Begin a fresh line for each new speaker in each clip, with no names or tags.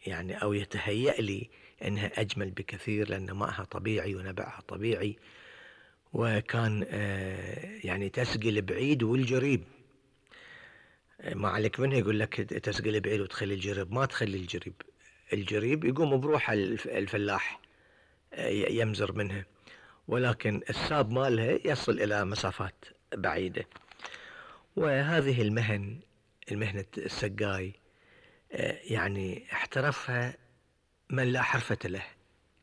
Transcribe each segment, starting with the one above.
يعني أو يتهيأ لي أنها أجمل بكثير، لأن ماءها طبيعي ونبعها طبيعي، وكان يعني تسقي البعيد والجريب. ما عليك منها يقول لك تسقي البعيد وتخلي الجريب، ما تخلي الجريب. الجريب يقوم بروحه الفلاح يمزر منها، ولكن الساب مالها يصل إلى مسافات بعيدة. وهذه المهنة السقاي يعني احترفها من لا حرفة له،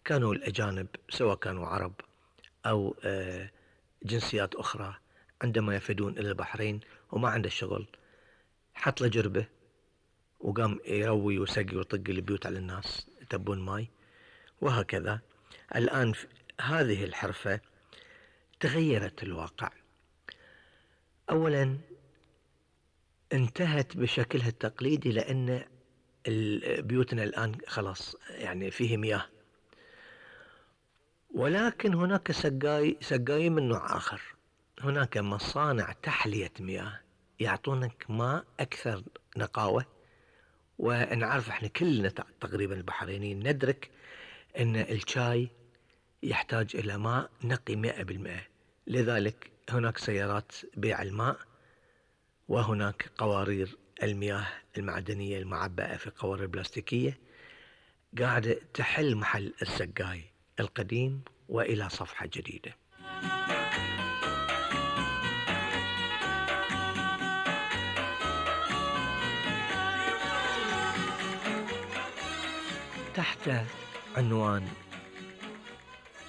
كانوا الأجانب سواء كانوا عرب أو جنسيات أخرى، عندما يفدون إلى البحرين وما عنده شغل حط له جربة وقام يروي وسقي ويطق البيوت على الناس يتبون ماي. وهكذا الآن هذه الحرفة تغيرت الواقع. أولا انتهت بشكلها التقليدي، لأن بيوتنا الآن خلاص يعني فيه مياه، ولكن هناك سقاي من نوع آخر. هناك مصانع تحلية مياه يعطونك ماء أكثر نقاوة. ونعرف احنا كلنا تقريبا البحرينيين ندرك ان الشاي يحتاج الى ماء نقي 100%. لذلك هناك سيارات بيع الماء، وهناك قوارير المياه المعدنية المعبأة في قوارير بلاستيكية قاعدة تحل محل السقاي القديم وإلى صفحة جديدة. تحت عنوان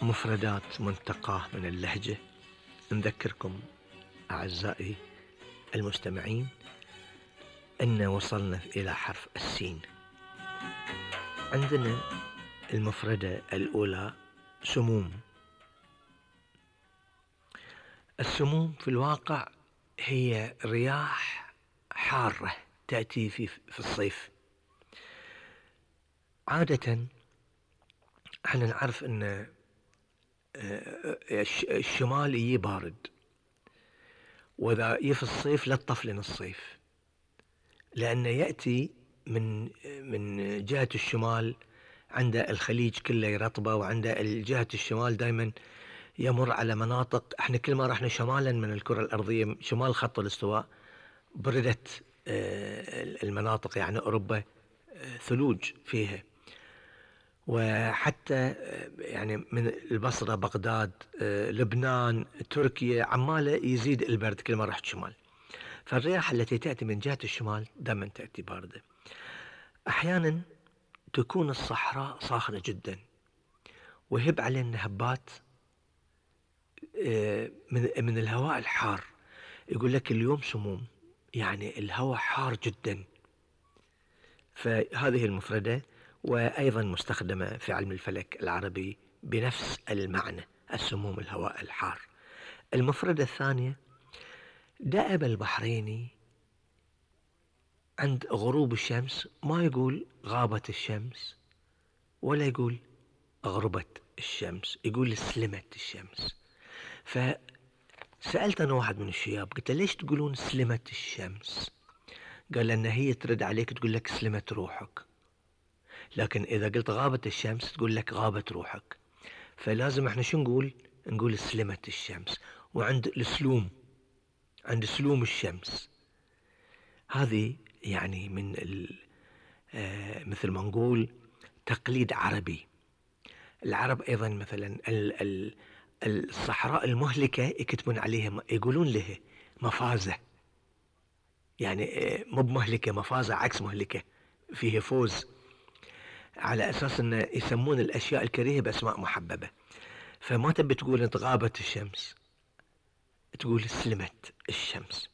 مفردات منتقاة من اللهجة نذكركم أعزائي المستمعين أن وصلنا إلى حرف السين. عندنا المفردة الأولى سموم. السموم في الواقع هي رياح حارة تأتي في الصيف. عادة احنا نعرف ان الشمال يجي بارد، وإذا في الصيف لا تطفلن الصيف، لأنه يأتي من جهة الشمال. عند الخليج كله يرطبه، وعند جهة الشمال دائما يمر على مناطق احنا كل ما رحنا شمالا من الكرة الأرضية شمال خط الاستواء بردت المناطق، يعني أوروبا ثلوج فيها. وحتى يعني من البصرة بغداد لبنان تركيا عمالة يزيد البرد كل ما رحت شمال. فالرياح التي تأتي من جهة الشمال دائما تأتي باردة. أحيانا تكون الصحراء صاخنة جدا ويهب علينا هبات من الهواء الحار. يقول لك اليوم سموم، يعني الهواء حار جدا. فهذه المفردة وأيضا مستخدمة في علم الفلك العربي بنفس المعنى، السموم الهواء الحار. المفردة الثانية دأب البحريني عند غروب الشمس ما يقول غابت الشمس ولا يقول غربت الشمس، يقول سلمت الشمس. فسألت أنا واحد من الشياب قلت ليش تقولون سلمت الشمس؟ قال لأن هي ترد عليك تقول لك سلمت روحك، لكن إذا قلت غابت الشمس تقول لك غابت روحك. فلازم احنا شو نقول سلمت الشمس. وعند السلوم، عند سلوم الشمس، هذه يعني من مثل ما نقول تقليد عربي. العرب أيضا مثلا الصحراء المهلكة يكتبون عليها يقولون لها مفازة، يعني مو بمهلكة، مفازة عكس مهلكة، فيه فوز، على أساس أن يسمون الأشياء الكريهة بأسماء محببة. فما تبي تقول انت غابت الشمس، تقول سلمت الشمس.